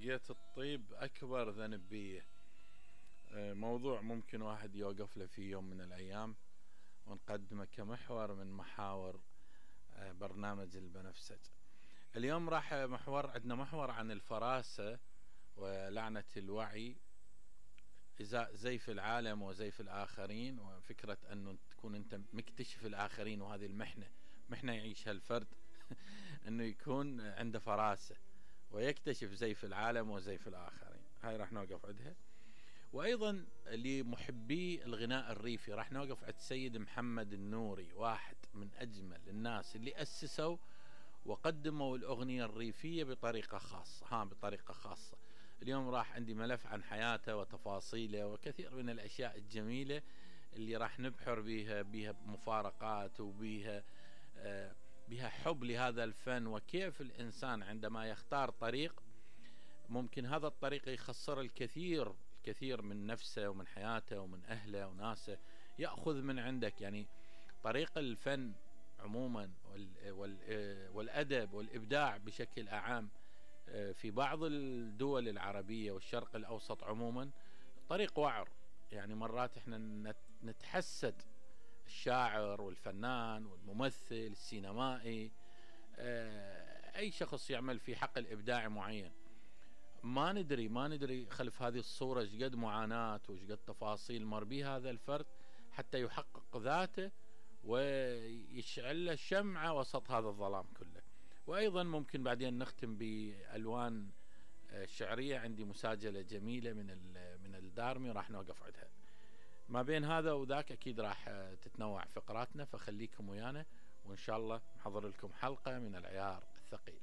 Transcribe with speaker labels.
Speaker 1: لقيت الطيب أكبر ذنب بيه. موضوع ممكن واحد يوقف له في يوم من الأيام ونقدمه كمحور من محاور برنامج البنفسج. اليوم راح عندنا محور عن الفراسة ولعنة الوعي، إزاء زيف العالم وزيف الآخرين، وفكرة أنه تكون أنت مكتشف الآخرين، وهذه محنة يعيشها الفرد أنه يكون عنده فراسة ويكتشف زيف العالم وزيف الآخرين. هاي راح نوقف عندها. وأيضا لمحبي الغناء الريفي راح نوقف عند سيد محمد النوري، واحد من أجمل الناس اللي أسسوا وقدموا الأغنية الريفية بطريقة خاصة. اليوم راح عندي ملف عن حياته وتفاصيله وكثير من الأشياء الجميلة اللي راح نبحر بيها مفارقات وبيها حب لهذا الفن، وكيف الإنسان عندما يختار طريق ممكن هذا الطريق يخسر الكثير من نفسه ومن حياته ومن أهله وناسه، يأخذ من عندك. يعني طريق الفن عموما والأدب والإبداع بشكل أعام في بعض الدول العربية والشرق الأوسط عموما طريق وعر. يعني مرات احنا نتحسد الشاعر والفنان والممثل السينمائي، أي شخص يعمل في حقل إبداعي معين، ما ندري خلف هذه الصورة شقد معاناة وشقد تفاصيل مر بها هذا الفرد حتى يحقق ذاته ويشعل له شمعة وسط هذا الظلام كله. وأيضا ممكن بعدين نختم بألوان شعرية، عندي مساجلة جميلة من الدارمي راح نوقف عندها. ما بين هذا وذاك أكيد راح تتنوع فقراتنا، فخليكم ويانا وإن شاء الله نحضر لكم حلقة من العيار الثقيل.